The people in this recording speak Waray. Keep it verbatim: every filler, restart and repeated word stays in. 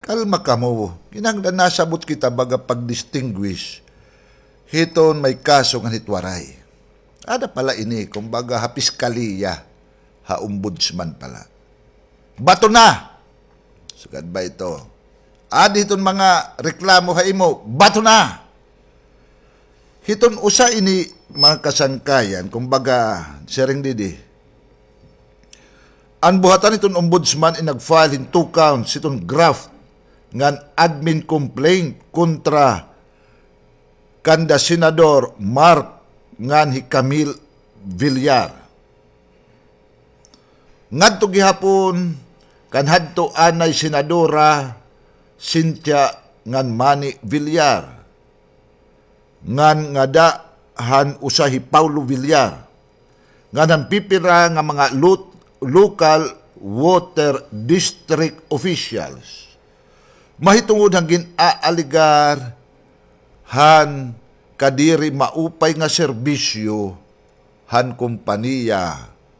Kalma kamo. Kinahanglan nasabot kita baga pag-distinguish hiton may kaso ngan hit waray. Ada pala ini, kumbaga, ha piskaliya, ha ombudsman pala. Bato na! Sugad ba ito? Adi hiton mga reklamo ha imo, bato na! Hiton usa ini, mga kasangkayan, kumbaga, siring didi, an buhatan hiton ombudsman in nag-file hin two counts hiton graft ngan admin complaint kontra kanda Senador Mark ngan hi Camille Villar. Ngadto gihapon kan hadto anay Senadora Cynthia ngan Manny Villar, ngan ngada han usa hi Paulo Villar, ngan han pipira nga mga lo-, local water district officials. Mahitungod han gin-aaligar han kadiri maupay nga serbisyo han kompanya